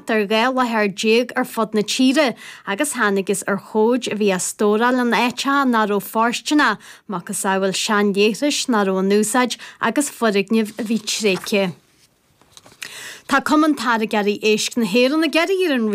thart ar 12 láthair ar fud na tíre agus thángthas ar chomhaid a bhí á stóráil in áiteacha nach raibh fóirsteanach, macasamhail seanleithris nach raibh in úsáid agus foirgnimh a bhí tréigthe. Tá Cumann Táirgeoirí Éisc na hÉireann ag iarraidh ar an.